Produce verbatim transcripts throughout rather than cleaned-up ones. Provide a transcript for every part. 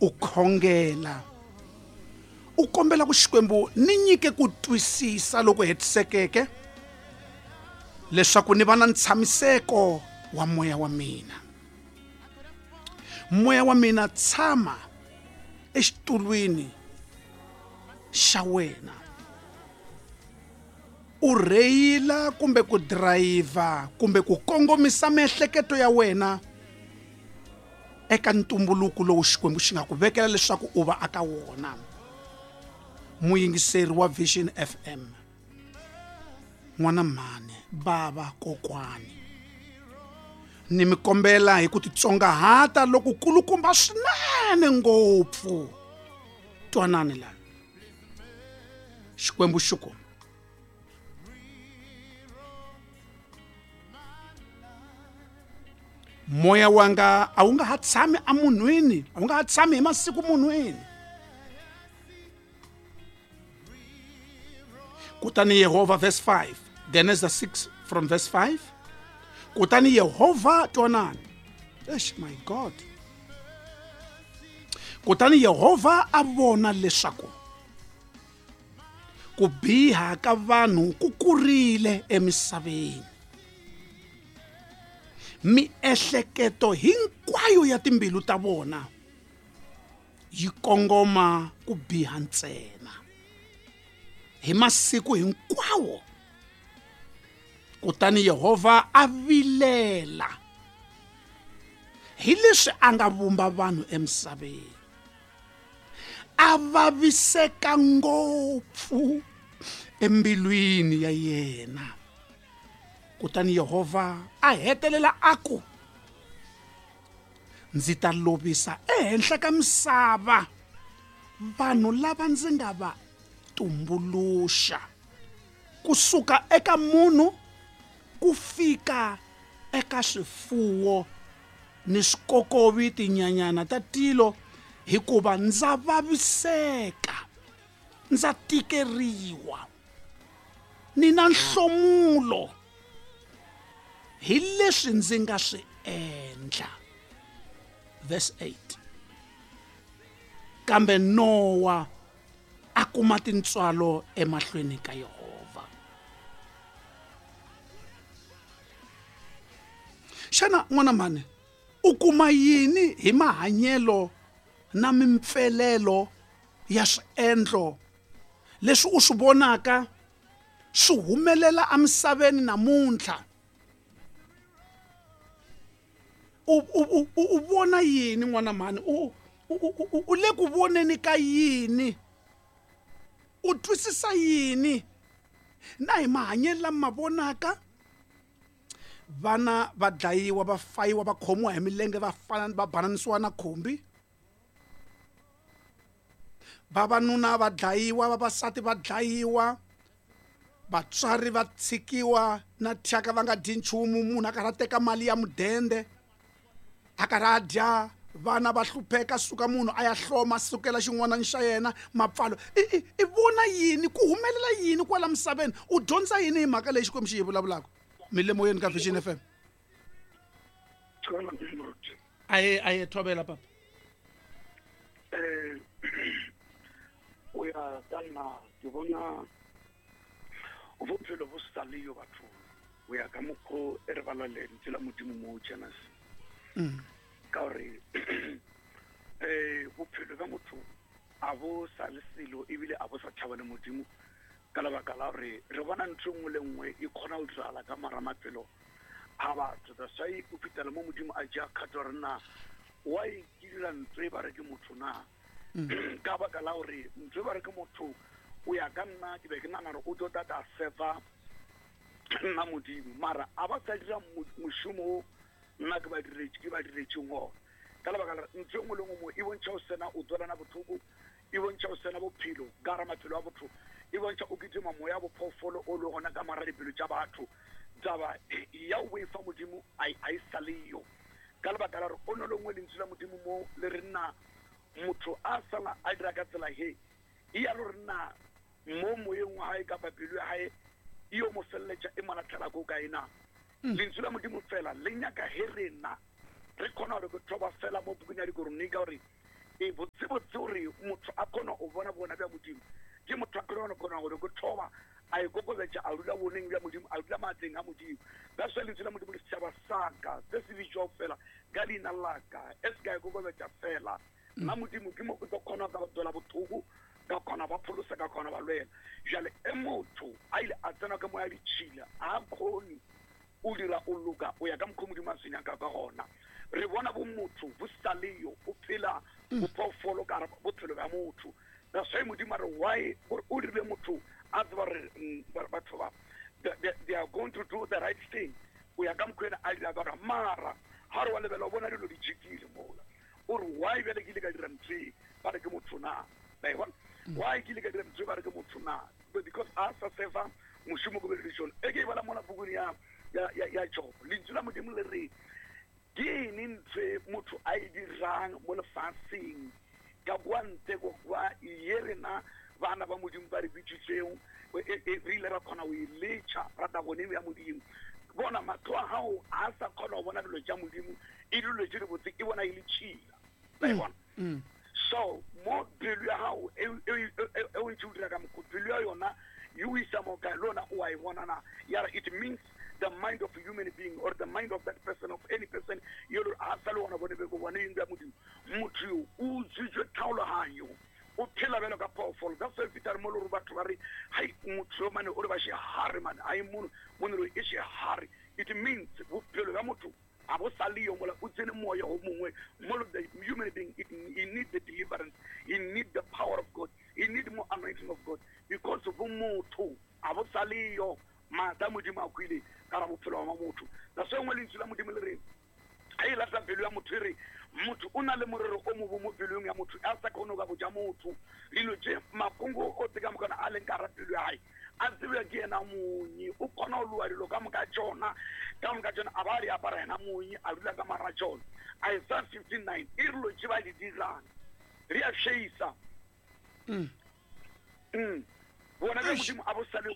U khongela u kombela ku Xikwembu ni nyike ku twisisa loko hetisekeke leswaku ni va na ntshamiseko wa moya wa mina. Moya wa mina tshama exitulwini xa wena, u rheyila kumbe ku drayiva kumbe ku kongomisa miehleketo ya wena eka ntumbuluko lowu Xikwembu xi nga ku vekela leswaku u va aka wona. Muyingiseri wa Vision F M, n'wana mhani, bava, kokwani, ni mi kombela hi ku titsongahata loko kulukumba swinene ngopfu, twanani la Xikwembu xi ku moya wanga a wu nga ha tshami emunhwini, a wu nga ha tshami hi masiku munhwini. Kutani Yehovha, verse five, Genesis six from verse five. Kutani Yehovha, twanani, eish my God. Kutani Yehovha a vona leswaku ku biha ka vanhu ku kurile emisaveni, miehleketo hinkwayo ya timbilu ta vona yi kongoma ku biha ntsena hi masiku hinkwawo. Kutani Yehovha a vilela hi leswi a nga vumba vanhu emisaveni, a vaviseka ngopfu embilwini ya yena. Kutani Yehovha a hetelela a ku, ndzi ta lovisa ehenhla ka misava vanhu lava ndzi nga va tumbuluxa, kusuka eka munhu ku fika eka swifuwo ni swikokovi, tinyanyana ta tilo, hikuva ndza vaviseka, ndza tikeriwa, ni na nhlomulo hi leswi ndzi nga swi endla. Verse eight. Kambe Nowa a kuma tintswalo emahlweni ka Yehovha. Xana n'wana mhani u kuma yini hi mahanyelo na mimpfelelo ya swiendlo leswi u swi vonaka swi humelela emisaveni namuntlha? U u u vona yini n'wana mhani? U u le ku voneni ka yini? U twisisa yini na hi mahanyelo lama vonaka? Vana va dlayiwa, va fayiwa, va khomiwa hi milenge, va fana va bananisiwa na khumbi. Vavanuna va dlayiwa, vavasati va dlayiwa, vatswari va tshikiwa na thyaka va nga dyi nchumu, munhu a karhi a teka mali ya mudende a karhi a dya, vana va hlupheka, suka munhu a ya hloma sukela xin'wana xa yena mapfalo. I i vona yini ku humelela yini kwala misaveni? U dyondza yini hi mhaka leyi Xikwembu xi yi vulavulaka? Milemoyeni ka Vision F M. Aye aye thobela papa. Eh o ya ka nna ke bona bophelo bo sa le yo batho o ya ka mokgo e re bala lentswe la Modimo mo Genesis. Ka gore eh bophelo ba motho a bo sa le selo ebile a bo sa tšhaba le Modimo, ka lebaka la gore re bona ntho nngwe le nngwe e kgona go diragala ka mara maphelo a batho. That's why o fitela mo Modimo a ja kgato gore na wa e dira ntho e ba re ke motho na, ka baka la gore ntho e ba re ke motho o ya ka nna ke be ke nagana gore o tlo tata sefa nna Modimo, mara a ba sa dira mošomo o nna ke ba diretse ke ba diretseng ona. Ka lebaka la ntho e nngwe le nngwe mo e bontšha o sena o tswelana botlhoko, e bontšha o sena bophelo ka gara maphelo a botho, e bontšha o kitima moya bophoofolo o le gona ka mara dipelo tša batho. Taba ya o boifa Modimo a e sa le yo, ka lebaka la gore o no lengwe lentswe la Modimo mo le re nna motho a sala a dira ka tsela he e ya lo re nna mo moyeng wa hae kapa pelo ya hae e yo mo feleletša e mo latlhela ko kae na. Lentswe la Modimo fela le nyaka he rena re kgona gore ke thoba fela mo bukung ya Dikoronika gore E botsebotse gore motho a kgona go bona bona bja Modimo ke motho a kgona kgona gore go thoma a ikokobetša a dula boneng bja Modimo, a dula maatleng a Modimo. That's why lentswe la Modimo le setšhaba sa ka se se bitšwago fela ka leina la ka e se ka ikokobetša fela nna Modimo ke mo ke tlo kgona ka tswela bothoko, ka kgona ba pholosa, ka kgona ba lwela. Jale e motho a ile a tsena ka moya ditšhila a kgone o dira o loka o ya ka mokgwa Modimo a se nyaka ka gona. Re bona bo motho bo sa leyo o phela bophoofolo ka bophelo bja motho. That's why Modimo a re why gore o dirile motho a tseba gore batho ba they are going to do the right thing o ya ka mokgwa ena a dira ka gona. Mara ga re wa lebela o bona dilo di jikile mola o re why bjale ke ile ka dira ntho e ba re ke motho na, ba e bona why ke ile ka dira ntho e ba re ke motho na, because a sa seva mošomo ko beleditšone. E ke e bala mola pukung ya ya ya Job, lentswe la Modimo le re ke eng ntho e motho a e dirang mo lefaseng ka kwa ntle go kwa ye rena bana ba Modimo ba re bitsitseng re ile ra kgona go e letšha ra tla boneng ya Modimo. Bona mahlo a gago a sa kgona go bona dilo tša Modimo e dilo tše dibotse e bona e le tšhila, ba e bona. So mo pelo ya gago e o ntse o dira ka mokgwa pelo ya yona e o isa mo kae le yona o a e bona na. Ya re it means the mind of a human being or the mind of that person, of any person yo a sa le ona bone be go bone eng ya Modimo. Motho yo o utswitswe tlhaologanyo o phela bjalo ka phoofolo. That's why fitare mo le gore batho ba re hai motho yo mane o re ba shehare mane ai mono mono e shehare. It means bophelo bja motho a bo sa le yo mola o tsene moya o mongwe mo. The human being it, he need the deliverance, he need the power of God, he need more anointing of God, because bo motho a bo sa le yo maatla Modimo a kwile ka ra bophelo ba motho. That's why nngwe lentswe la Modimo le re ga e lata pelo ya motho e re motho o na le morero o mobo mo pelong ya motho a sa kgone go ka botša motho dilo tše makongo o tse ka mokana a leng ka ra pelo ya gae a tsebja ke yena monye. O kgona go loa dilo ka moka tšona ka moka tšona a ba a di apara yena monye a dula ka mara tšona. Isaiah fifty-nine e re dilo tše ba di dirang re a šeisa. Bona bja Modimo a bo sa le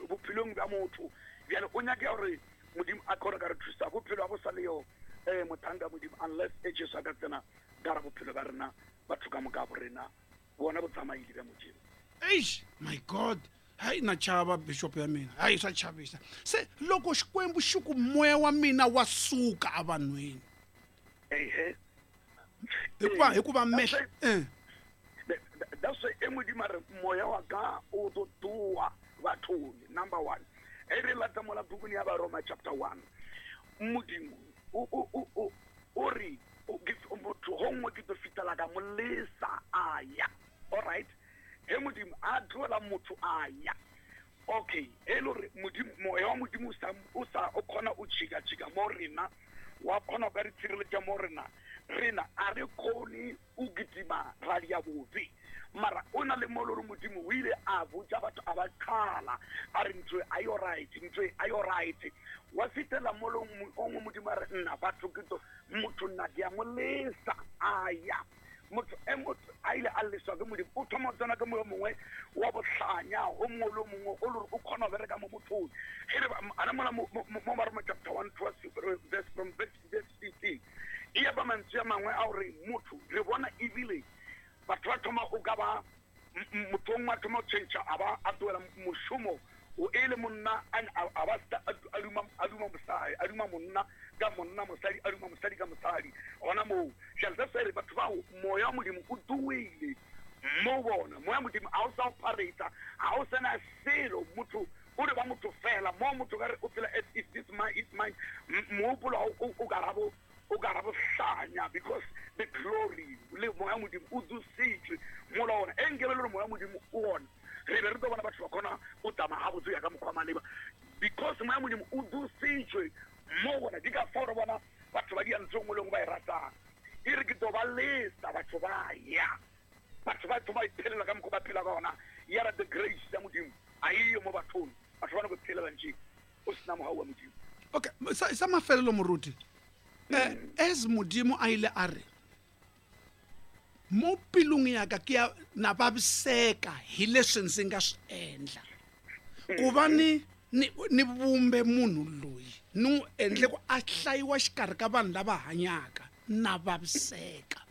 bophelong bja motho. Bjale o nyake gore Modimo a kgone ka re thusa bophelo a bo sa le yo eh mothanka Modimo unless e Jesu a ka tsena ka ra bophelo ba rena batho ka moka bo rena bona bo tsamaile bja Modimo. Eish my God, hayi na chava bishop ya mina hayi swa chavisa se loko Xikwembu xi ku moya wa mina wa suka evanhwini ehe hikuva hikuva mehle eh that's why e Modimo re moya wa ka o tlo tua bathong. Number one e re lata mola bukung ya Baroma chapter one Modimo o o o o re o motho gongwe ke tlo fitela ka molesa a ya. All right, he Modimo a tloela motho a ya. Okay, e le gore Modimo moya wa Modimo o sa o sa o kgona o tšhika tšhika mo rena wa kgona go ka re tshireletša mo rena rena a re kgone o kitima ra dia bobe. Mara o na le mo le gore Modimo o ile a botša batho a ba qhala a re ntho a yo right, ntho a yo right. Wa fitela mo le o ngwe Modimo a re nna batho ke to motho nna ke a mo lesa a ya. Motho e motho a ile a leswa ke Modimo o thoma go tsena ke moyo mongwe wa bohlanya o mongwe le o mongwe o le gore o kgona go bereka mo mothong. E re a re mola mo Baroma chapter one verse from verse fifteen e ya ba mantswe a mangwe a gore motho re bona ebile batho ba thoma o ka ba motho mongwe a thoma go change a ba a tloela mošomo o e le monna a ba a duma a duma mosadi a duma monna ka monna mosadi a duma mosadi ka mosadi gona moo. Jale that's why batho bao moya wa Modimo o tuile mo bona moya wa Modimo a o sa operata ga o sena selo motho o re ba motho fela mo motho ka re o phela as if this mind is mine mohopolo o ka rabo o ka rabo hlanya because the glory le moya Modimo o dusitswe mola ona e nkebe le gore moya Modimo o ona re be re tlo bona batho ba kgona o tsamaya gabotse ya ka mokgwa maleba because moya Modimo o dusitswe mo bona di ka fao re bona batho ba dia ntho e nngwe le nngwe ba e ratang e re ke tlo ba lesa batho ba ya batho ba thoma iphelela ka mokgwa ba phela ka ona ya ra the grace ya Modimo a eyo mo bathong batho ba no go phelela ntše o sena mogau wa Modimo. Okay, sa sa mafelelo moruti eh as Modimo a ile a re mo pelong ya ka ke ya na vaviseka hi leswi ndzi nga swi endla ku va ni ni ni vumbe munhu loyi ni n'wi endle ku a hlayiwa xikarhi ka vanhu lava hanyaka na vaviseka.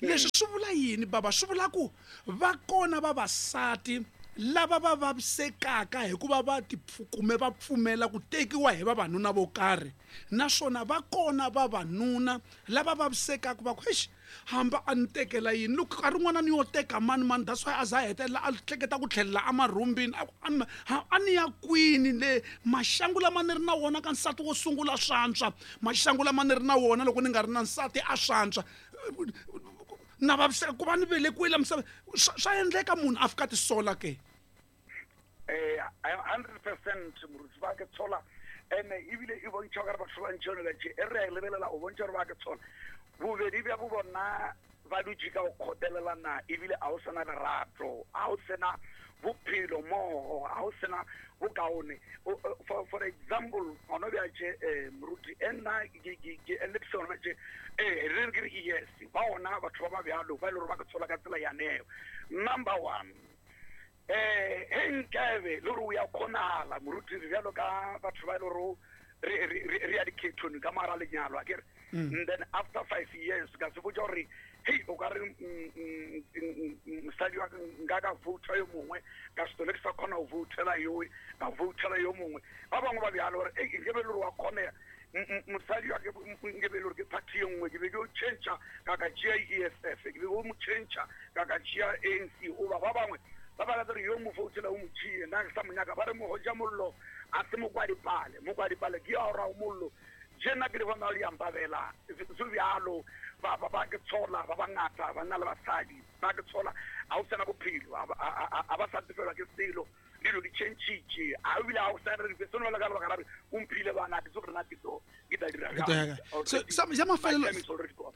Leswi swi vula yini baba? Swi vula ku va kona vavasati lava va vavisekaka hikuva va tipfukume va pfumela ku tekiwa hi vavanuna vo karhi, naswona va kona vavanuna lava vavisekaka va ku eish hamba a ni tekela yini loko nkarhi wun'wana ni yo teka mani mani, that's why a za a hetelela a hleketa ku tlhelela emarhumbini a ku a ni ya kwini le maxangu lama ni ri na wona ka nsati wo sungula swantswa, maxangu lama ni ri na wona loko ni nga ri na nsati a swantswa, na vaviseka ku va ni velekiwile misava. Swa endleka munhu a fika tisola ke? Eh hundred percent moruti ba ke tshola ene ebile e bontšha gore batho ba ntšhone ba tše e re a lebelela o bontšha gore ba ke tshola bobedi bja bo bona ba dutše ka go kgotelelana ebile a o sena lerato, a o sena bophelo mmogo, a o sena bokaone. For, for example gona bja tše moruti e nna ke eletsa gona tše ee re ke re yes ba ona batho ba ba bjalo ba e le gore ba ke tshola ka tsela yaneo. Number one, eh he nkabe le gore o ya kgonagala moruti re bjalo ka batho ba e le gore re re ya dikhethong ka mara lenyalo a kere, and then after five years ka se botša gore hei o ka re mosadi wa nka ka vouta yo mongwe ka setole ke sa kgona go voutela yowe ka voutela yo mongwe. Ba bangwe ba bjalo gore ei nke be le gore wa kgonega mosadi wa ke nke be le gore ke party ye nngwe ke be ke o change ka ka tšea E F F, ke be ke mo change ka ka tšea A N C. Oba ba bangwe ba ba gore yo mo voutela o mo tšee nna ke sa mo nyaka, ba re mogoja mollo a se mokwadipale, mokwadipale ke ya ora mollo jena ke le bona le yampabela se bjalo ba ba ba ke tshola ba bangata ba na le basadi ba ke tshola a o sena bophelo a ba sa tefela ke selo dilo di changitše a ebile a o sa re seno le ka lebaka la re o mphile bana ke tso rena ke tlo ke tla dira sa mafelelo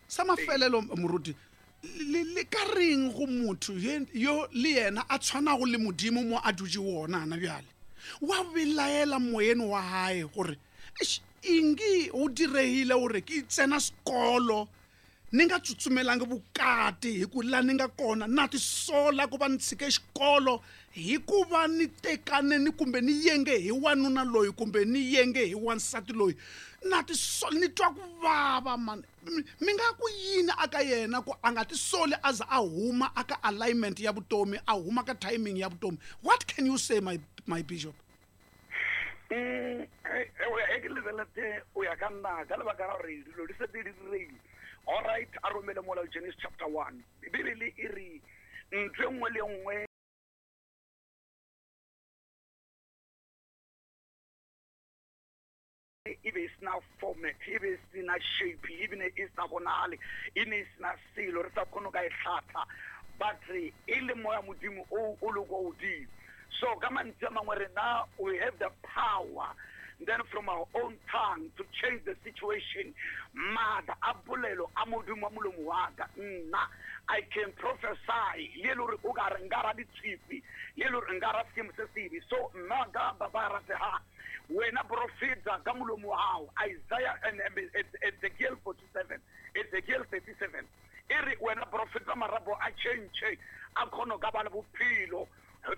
sa mafelelo moruti le le ka reng go motho yo le yena a tshwanago le modimo mo a dutše wona ana bjale wa belaela moyeni wa hae gore ingi o diregile gore ke tsena sekolo ni nga tsutsumelangi vukati hi ku la ni nga kona na tisola ku va ni tshike xikolo hikuva ni tekane ni kumbe ni yenge hi wanuna loyi kumbe ni yenge hi wansati loyi na tisola ni twa ku vava mani. Mi nga ku yini aka yena ku a nga tisoli a za a huma aka alignment ya vutomi, a huma ka timing ya vutomi? What can you say, my my bishop? Mm e ke lebelete o ya ka nna ka lebaka la gore dilo di setse di diregile. All right, a romele mola Genesis chapter one. Bibele e re ntho e nngwe le nngwe e be e sena format, e be e sena shape, e bine e sa bonagale, e ne e sena selo re sa kgone ka e hlatha, but e le moya modimo o o le kwa godimo. So ka mantswe a mangwe rena we have the power then from our own tongue to change the situation. Maatla a polelo a modimo wa molomo wa ka nna I can prophesy le le gore o ka re nka ra ditshipi le le gore nka ra seemo se sebe. So nna ka ba ba ratega wena profeta ka molomo wa gago. Isaiah and Ezekiel forty-seven, Ezekiel thirty-seven e re wena profeta marapo a change a kgona ka ba le bophelo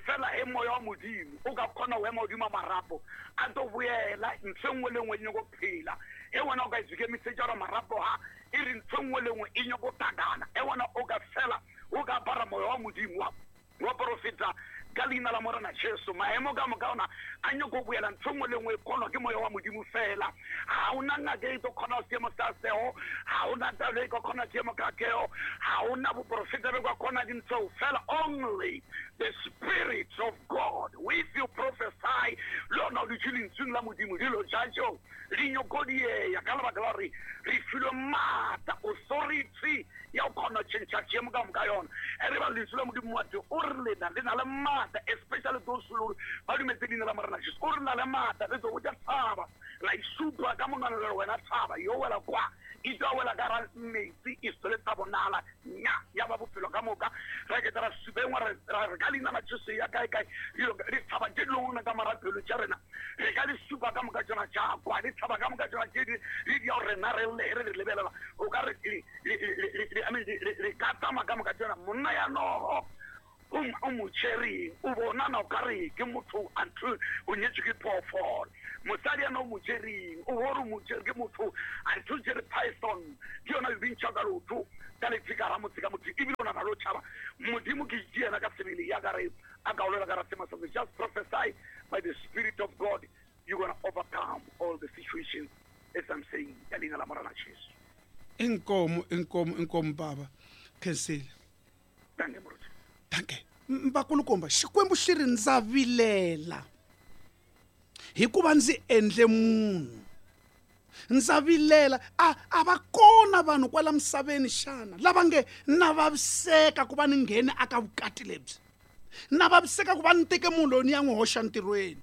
fela e moya wa modimo o ka kgona go ema godimo a marapo a tlo boela ntho e nngwe le nngwe e nyako phela. E wena o ka ikemisetša gore marapo ga e re ntho e nngwe le nngwe e nyako takana, e wena o ka fela o ka apara moya wa modimo wa wa profeta ka leina la Morena Jesu. Maemo ka moka ona a nyako boela ntho nngwe le nngwe e kgonwa ke moya wa modimo fela. Ga ona ngaka e tlo kgona seemo sa seo, ga ona talo e ka kgona seemo ka keo, ga ona boprofeta be ka kgona dintho fela. Only the Spirit of God, if you prophesy le yona o dutše lentsweng la modimo dilo tša tšeo di nyako dieya ka lebaka la gore re filwe maatla, authority ya go kgona change seemo ka moka yona. E re ba lentswe la modimo wa teng o re lena le na le maatla, especially those who ba dumetse leina la Morena Jesu. O re na le maatla re tlo botša tshaba la isupa ka monwana le wena tshaba yo wela kwa e tla wela ka ra metsi e sele tsa bonala nya ya ba bophelo ka moka. Re ke tla supa engwe re re ka leina la Jesu ya kae kae di tshaba tše dingwe ka marapelo tša rena re ka di supa ka moka tsona tša kwa di tshaba ka moka tsona tše di di ya rena re le re lebelela o ka re re ka tsamaya ka moka tsona monna ya nogo o mo tšereng o bonana o ka re ke motho until o nyetswe ke phoofolo. Mosadi yana o mo jereng o gore o mo jere ke motho a re o jere python ke yona e bintšha ka lotho ka lefika ra motse ka motho ebile o nana lo tšhaba modimo ke yena ka sebele ya ka re a ka olela ka ra sema sa. Just prophesy by the Spirit of God, you're gonna overcome all the situations, as I'm saying, ka leina la Morena Jesu. Inkomo, inkomo, inkomo baba. Khensile. Danke moruti. Danke. Mbakulukumba, Xikwembu xi ri ndza vilela hikuva ndzi endle munhu. Ndza vilela a a va kona vanhu kwala misaveni xana lava nge na vaviseka ku va ni nghene aka vukati lebyi, na vaviseka ku va ni teke munhu loyi ni ya n'wi hoxa ntirhweni,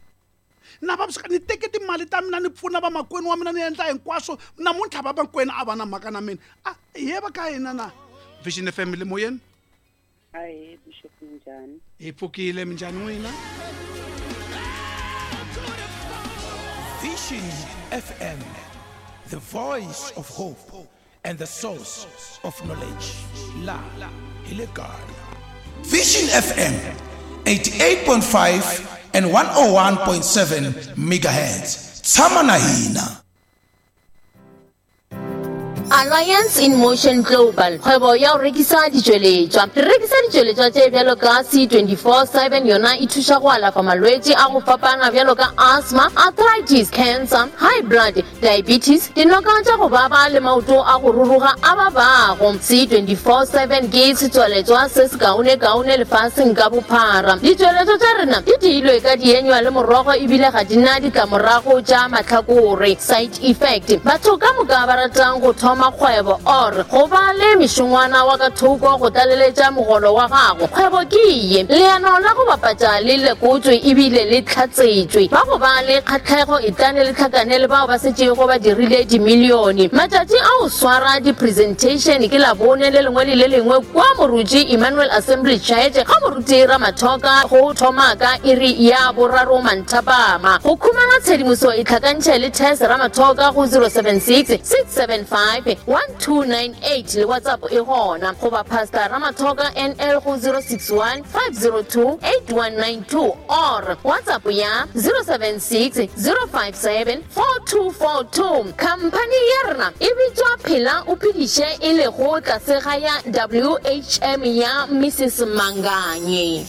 na vaviseka ni teke timali ta mina ni pfuna vamakwenu wa mina ni endla hinkwaswo, namuntlha vamakwenu a va na mhaka na mina. A hi va ka hina na Vision F M le moyeni. Ahee Bishop, minjhani? Hi pfukile, minjhani n'wina? Vision F M, the voice of hope and the source of knowledge. La hi le kaya. Vision F M eighty-eight point five and one oh one point seven megahertz. Tshama na hina. Alliance in Motion Global, kgwebo ya go rekisa ditšweletšwa. Re rekisa ditšweletšwa tše bjalo ka C twenty-four seven, yona e thuša go alafa malwetši a go fapana bjalo ka asthma, arthritis, cancer, high blood, diabetes, dinoka tša go baba le maoto a go ruruga a babago. C twenty-four seven ke setsweletšwa se se kaone-kaone lefaseng ka bophara. Ditšweletšwa tša rena di diilwe ka dienywa le morogo ebile ga di na ditlamorago tša mahlakore, side effect. Batho ka moka ba ratang go thoma kgwebo or go ba le mešongwana wa ka thoko go tlaleletša mogolo wa gago, kgwebo ke ye. Leano la go bapatša le lekotswe ebile le tlhatsetšwe. Ba go ba le kgatlhego e tlane le tlhakane le bao ba setšego ba dirile dimilione. Matšatši a go swara di-presentation ke Labone le lengwe le le lengwe kwa Moruti Emmanuel Assembly Church ga Moruti Ramathoka go thoma ka iri ya boraro manthapama. Go khumana tshedimoso e tlhakantšhe le Tess Ramathoka go zero seven six six seven five one two nine eight le WhatsApp e gona, goba Pastor Ramathoka N L go zero six one five zero two eight one nine two or WhatsApp ya zero seven six zero five seven four two four two. Company ya rena e bitswa Phela o Phediše e lego tlase ga ya W H M ya Missus Manganye.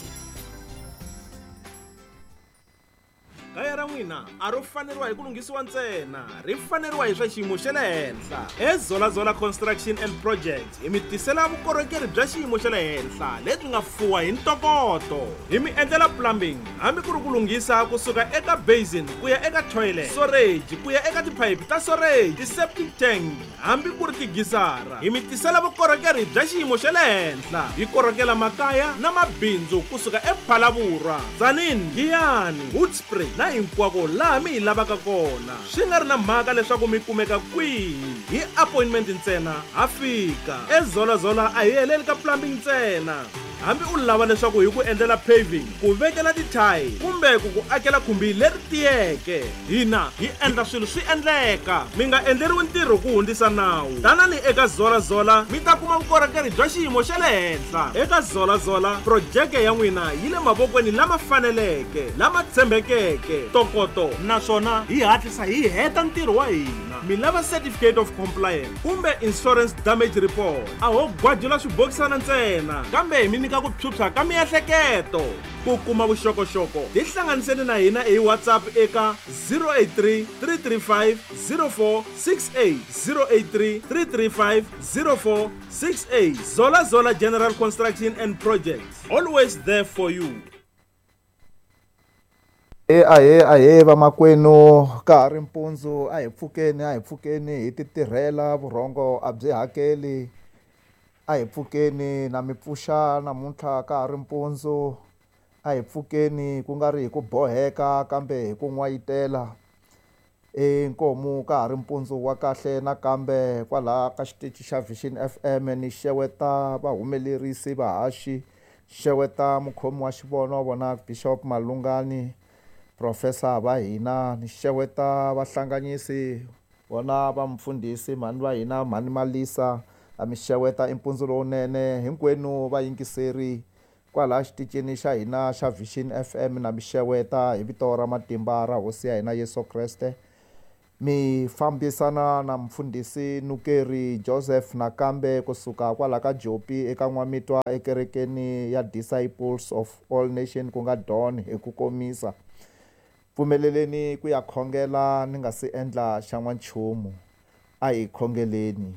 Kaya ra n'wina a ro faneriwa hi ku lunghisiwa ntsena, ri faneriwa hi swa xiyimo xa le henhla. Ezolazola Construction and Projects hi mi tisela vukorhokeri bya xiyimo xa le henhla lebyi nga fuwa hi ntokoto. Hi mi endlela plumbing hambi ku ri ku lunghisa kusuka eka basin ku ya eka toilet, storage ku ya eka tiphayiphi ta storage, ti-septic tank hambi ku ri tigisara. Hi mi tisela vukorhokeri bya xiyimo xa le henhla. Hi korhokela makaya na mabindzu kusuka ePhalaborwa, Tzaneen, Giyani, Hoedspruit na hinkwako laha mi hi lavaka kona. Swi nga ri na mhaka leswaku mi kumeka kwihi, hi appointment ntsena ha fika. Ezolazola a hi heleli ka plumbing ntsena. Hambi u lava leswaku hi ku endlela paving, ku vekela tithayili kumbe ku ku akela khumbi leri tiyeke, hina hi endla swilo swi endleka. Mi nga endleriwi ntirho ku hundzisa nawu. Tanani eka Zolazola mi ta kuma vukorhokeri bya xiyimo xa le henhla. Eka Zolazola projeke ya n'wina yi le mavokweni lama faneleke, lama tshembekeke, ntokoto, naswona hi hatlisa hi heta ntirho wa hina. Mi lava certificate of compliance kumbe insurance damage report, a ho gwajula swibokisana ntsena, kambe hi mi nyika ku phyuphya ka miehleketo. Ku kuma vuxokoxoko tihlanganiseni na hina hi WhatsApp eka zero eight three three three five zero four six eight, zero eight three three three five zero four six eight. Zola Zola General Construction and Projects, always there for you. E ahee ahee vamakwenu, ka ha ri mpundzu, a hi pfukeni a hi pfukeni hi ti tirhela, vurhongo a byi hakeli. A hi pfukeni na mi pfuxa namuntlha ka ha ri mpundzu, a hi pfukeni ku nga ri hi ku boheka kambe hi ku n'wayitela. E nkomu ka ha ri mpundzu wa kahle nakambe kwalaha ka xitichi xa Vision F M ni xeweta vahumelerisi vahaxi, xeweta mukhomi wa xivono wa vona Bishop Malungani, Professor va hina, ni xeweta vahlanganyisi vona va mfundhisi mhani va hina mhani Malisa, a mi xeweta i mpundzu lowunene hinkwenu vayingiseri Kwala xitichini xa hina xa Vision F M na mi xeweta hi vito ra matimba ra hosi ya hina Yesu Kreste. Mi fambisana na mfundhisi Nukeri Joseph nakambe kusuka kwala ka Jopi eka N'wamitwa ekerekeni ya Disciples of All Nations ku nga Don hi ku komisa. Pfumeleleni ku ya khongela ni nga si endla xa n'wanchumu. A hi khongeleni.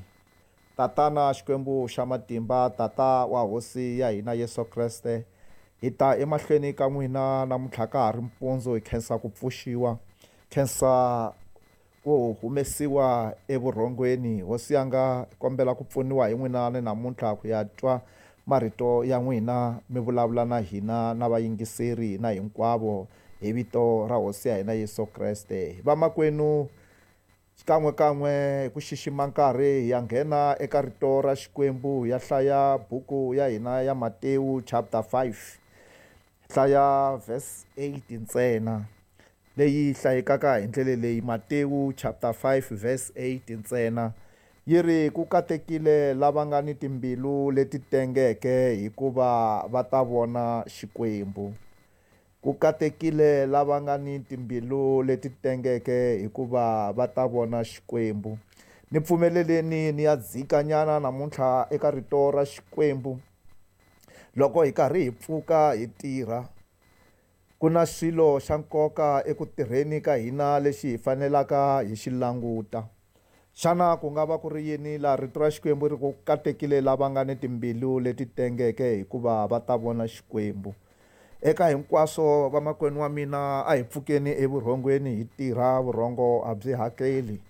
Tatana Xikwembu xa matimba, Tata wa hosi ya hina Yesu Kreste, hi ta emahlweni ka n'wina namuntlha ka ha ri mpundzu, hi khensa ku pfuxiwa, khensa ku humesiwa evurhongweni. Hosi yanga, hi kombela ku pfuniwa hi n'wina ni namuntlha ku ya twa marito ya n'wina, mi vulavula na hina na vayingiseri na hinkwavo hi vito ra hosi ya hina Yesu Kreste. Vamakwenu, xikan'we kan'we hi ku xixima nkarhi hi ya nghena eka rito ra Xikwembu, hi ya hlaya buku ya hina ya Matewu chapter five, hlaya verse eight ntsena, leyi hlayekaka hi ndlela leyi. Matewu chapter five verse eight ntsena, yi ri ku katekile lava nga ni timbilu leti tengeke, hikuva va ta vona Xikwembu. Ku katekile lava nga ni timbilu leti tengeke, hikuva va ta vona Xikwembu. Ni pfumeleleni ni ya dzikanyana namuntlha eka rito ra Xikwembu. Loko hi karhi hi pfuka hi tirha, ku na xilo xa nkoka eku tirheni ka hina lexi hi fanelaka hi xi languta. Xana ku nga va ku ri yini laha rito ra Xikwembu ri ku katekile lava nga ni timbilu leti tengeke, hikuva va ta vona Xikwembu? Eka hinkwaswo vamakwenu wa mina, a hi pfukeni evurhongweni hi tirha, vurhongo a byi hakeli.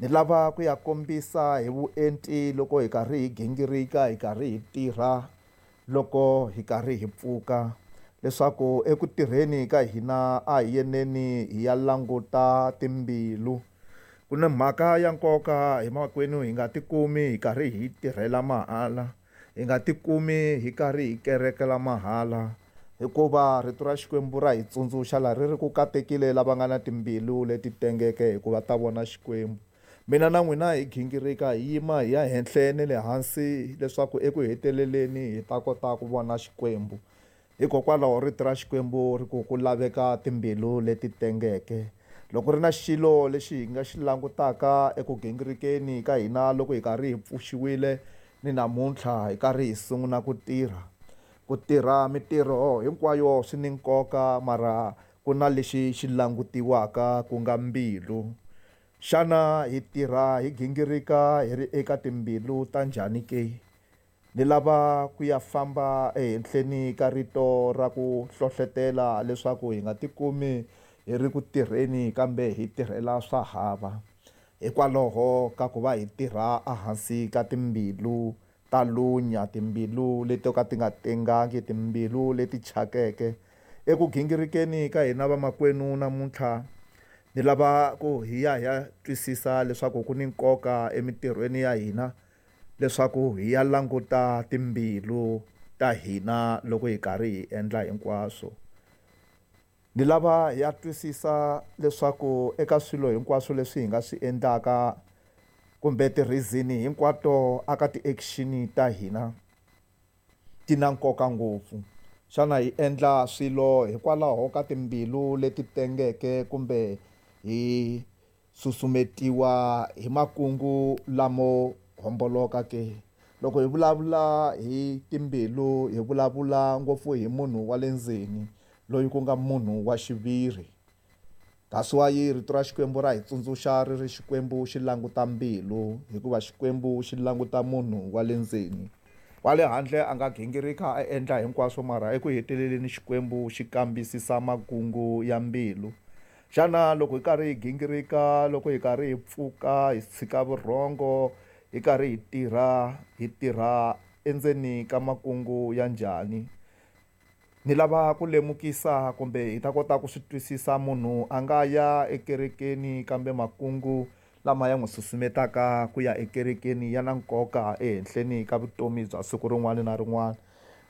Ni lava ku ya kombisa hi vuenti loko hi karhi hi gingirika, hi karhi hi tirha, loko hi karhi hi pfuka, leswaku eku tirheni ka hina a hi yeneni hi ya languta timbilu. Ku na mhaka ya nkoka hi makwenu, hi nga tikumi hi karhi hi tirhela mahala, hi nga tikumi hi karhi hi kerekela mahala, hikuva rito ra Xikwembu ra hi tsundzuxa laha ri ri ku katekile lava nga na timbilu leti tengeke, hikuva ta vona Xikwembu. Mina na n'wina hi gingirika, hi yima hi ya henhla ni le hansi, leswaku eku heteleleni hi ta kota ku vona Xikwembu. Hikokwalaho rito ra Xikwembu ri ku ku laveka timbilu leti tengeke. Loko ri na xilo lexi hi nga xi langutaka eku gingirikeni ka hina loko hi karhi hi pfuxiwile ni namuntlha hi karhi hi sungula ku tirha, ku tirha mitirho hinkwayo swi ni nkoka, mara ku na lexi xi langutiwaka ku nga mbilu. Xana hi tirha hi gingirika hi ri eka timbilu ta njhani ke? Ni lava ku ya famba ehenhleni ka rito ra ku hlohletela leswaku hi nga tikumi hi ri ku tirheni kambe hi tirhela swa hava, hikwalaho ka ku va hi tirha ehansi ka timbilu ta lunya, timbilu leti to ka ti nga tengangi, timbilu leti chakeke. Eku gingirikeni ka hina vamakwenu namuntlha, ni lava ku hi ya hi ya twisisa leswaku ku ni nkoka emitirhweni ya hina, leswaku hi ya languta timbilu ta hina loko hi karhi hi endla hinkwaswo. Ni lava hi ya twisisa leswaku eka swilo hinkwaswo leswi hi nga swi endlaka, kumbe ti-reason hinkwato aka ti-action ta hina ti na nkoka ngopfu. Xana hi endla swilo hikwalaho ka timbilu leti tengeke, kumbe hi susumetiwa hi makungu lamo homboloka ke? Loko hi vulavula hi timbilu, hi vulavula ngopfu hi munhu wa le ndzeni, loyi ku nga munhu wa xiviri. That's why rito ra Xikwembu ra hi tsundzuxa ri ri Xikwembu xi languta mbilu, hikuva Xikwembu xi languta munhu wa le ndzeni. Wa le handle a nga gingirika a endla hinkwaswo, mara eku heteleleni Xikwembu xi kambisisa makungu ya mbilu. Xana loko hi karhi hi gingirika, loko hi karhi hi pfuka, hi tshika vurhongo, hi karhi hi tirha, hi tirha endzeni ka makungu ya njhani? Ni lava ku lemukisa kumbe hi ta kota ku swi twisisa, munhu a nga ya ekerekeni kambe makungu lama ya n'wi susumetaka ku ya ekerekeni ya na nkoka ehenhleni ka vutomi bya siku rin'wana na rin'wana.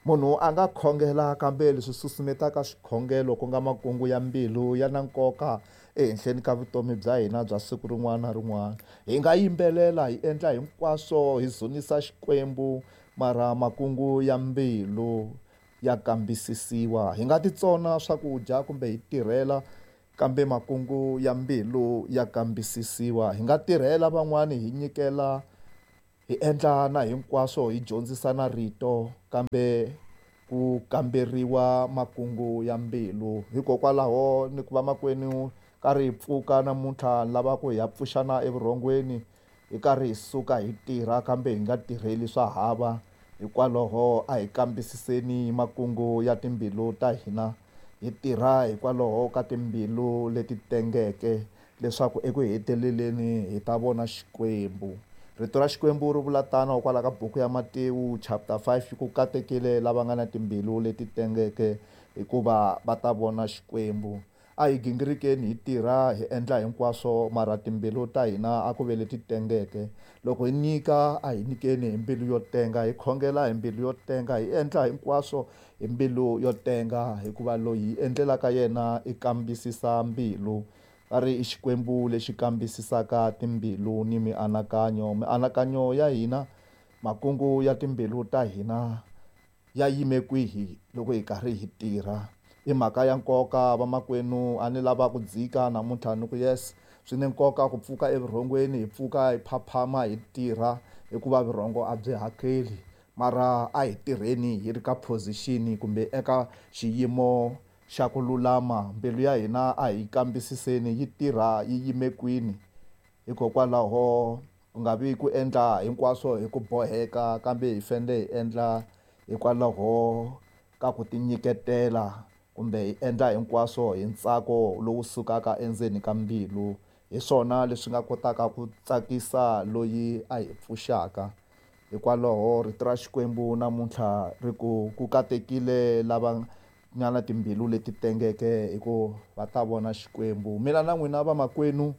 Munhu a nga khongela kambe leswi susumetaka xikhongelo ku nga makungu ya mbilu ya na nkoka ehenhleni ka vutomi bya hina bya siku rin'wana na rin'wana. Hi nga yimbelela, hi endla hinkwaswo, hi dzunisa Xikwembu, mara makungu ya mbilu ya kambisisiwa. Hi nga titsona swakudya kumbe hi tirhela, kambe makungu ya mbilu ya kambisisiwa. Hi nga tirhela van'wani, hi nyikela, hi endla na hinkwaswo, hi dyondzisa na rito, kambe ku kamberiwa makungu ya mbilu. Hikokwalaho ni ku va makwenu karhi hi pfuka namuntlha, ni lava ku hi ya pfuxana evurhongweni, hi karhi hi suka hi tirha, kambe hi nga tirheli swa hava. Hikwalaho a hi kambisiseni makungu ya timbilu ta hina, hi tirha hikwalaho ka timbilu leti tengeke, leswaku eku heteleleni hi ta vona Xikwembu. Rito ra Xikwembu ri vula tano kwala ka buku ya Matewu chapter five, ku katekile lava nga na timbilu leti tengeke, hikuva va ta vona Xikwembu. A hi gingirikeni hi tirha, hi endla hinkwaswo, mara timbilu ta hina a ku ve leti tengeke. Loko hi nyika, a hi nyikeni hi mbilu yo tenga, hi khongela hi mbilu yo tenga, hi endla hinkwaswo hi mbilu yo tenga, hikuva loyi hi endlelaka yena i kambisisa mbilu. Va ri i Xikwembu lexi kambisisaka timbilu ni mianakanyo. Mianakanyo ya hina, makungu ya timbilu ta hina ya yime kwihi loko hi karhi hi tirha? I mhaka ya nkoka vamakwenu, a ni lava ku dzika namuntlha ni ku yes, swi ni nkoka ku pfuka evurhongweni, hi pfuka hi phaphama hi tirha, hikuva vurhongo a byi hakeli. Mara a hi tirheni hi ri ka position kumbe eka xiyimo xa ku lulama. Mbilu ya hina a hi kambisiseni yi tirha yi yime kwini. Hikokwalaho ku nga vi ku endla hinkwaswo hi ku boheka, kambe hi fanele hi endla hikwalaho ka ku tinyiketela, kumbe hi endla hinkwaswo hi ntsako lowu sukaka endzeni ka mbilu. Hi swona leswi nga kotaka ku tsakisa loyi a hi pfuxaka. Hikwalaho rito ra Xikwembu namuntlha ri ku ku katekile lava nga na timbilu leti tengeke, hikuva va ta vona Xikwembu. Mina na n'wina vamakwenu,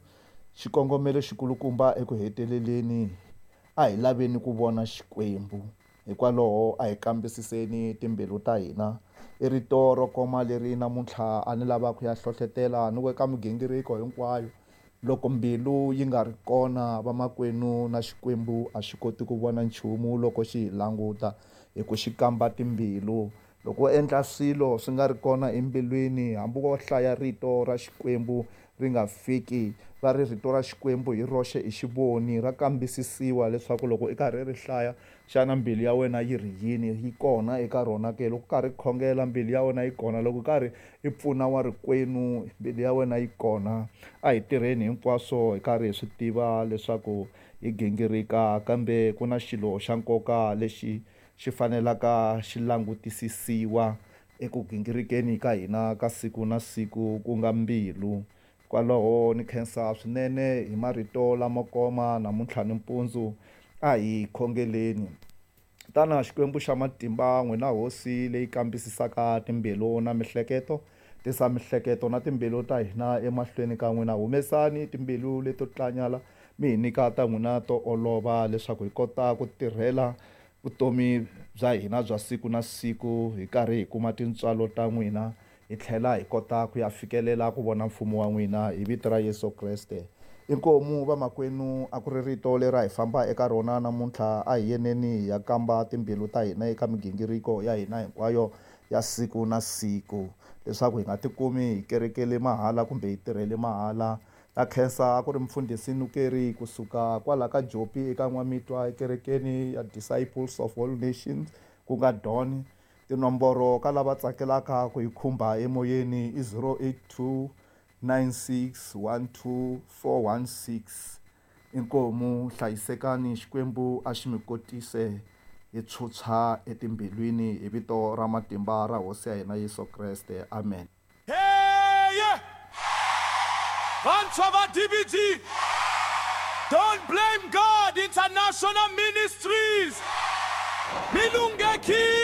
xikongomelo xikulukumba eku heteleleni a hi laveni ku vona Xikwembu. Hikwalaho a hi kambisiseni timbilu ta hina. I rito ro koma leri namuntlha a ni lava ku ya hlohletela ni ku eka migingiriko hinkwayo. Loko mbilu yi nga ri kona vamakwenu, na Xikwembu a xi koti ku vona nchumu loko xi hi languta, hi ku xi kamba timbilu. Loko u endla swilo swi nga ri kona embilwini, hambi wo hlaya rito ra Xikwembu ri nga fiki, va ri rito ra Xikwembu hi roxe i xivoni, ra kambisisiwa leswaku loko i karhi ri hlaya, xana mbilu ya wena yi ri yini, yi kona eka rona ke? Loko u karhi khongela, mbilu ya wena yi kona. Loko u karhi i pfuna wa rikwenu, mbilu ya wena yi kona. A hi tirheni hinkwaswo hi karhi hi swi tiva leswaku hi gingirika, kambe ku na xilo xa nkoka lexi xi fanelaka xi langutisisiwa eku gingirikeni ka hina ka siku na siku, ku nga mbilu. Kwalaho ni khensa swinene hi marito lamo koma namuntlha nimpundzu. A hi khongeleni. Tana Xikwembu xa matimba, n'wina hosi leyi kambisisaka timbilu na mihleketo, tisa mihleketo na timbilu ta hina emahlweni ka n'wina. Humesani timbilu leto tlanyala, mi hi nyika ta n'wina to olova, leswaku hi kota ku tirhela vutomi bya hina bya siku na siku, hi karhi hi kuma tintswalo ta n'wina, hi tlhela hi kota ku ya fikelela ku vona mfumo wa n'wina, hi vito ra Yesu Kreste. Inkomu vamakwenu, a ku ri rito leri a hi famba eka rona namuntlha. A hi yeneni hi ya kamba timbilu ta hina eka migingiriko ya hina hinkwayo ya siku na siku, leswaku hi nga tikumi hi kerekele mahala kumbe hi tirhele mahala. Ta khensa a ku ri mfundhisi Nukeri kusuka kwala ka Jopi eka N'wamitwa ekerekeni ya Disciples of All Nations, ku nga Don. Tinomboro ka lava tsakelaka ku hi khumba emoyeni i zero eight two nine six one two four one six. Inkomu, hlayisekani, Xikwembu a xi mi kotise hi tshutshwa etimbilwini hi vito ra matimba ra Hosi ya hina Yesu Kreste. Amen. Hey, yeah. Vantshwa va D B G, Don't Blame God International Ministries, Milungeki.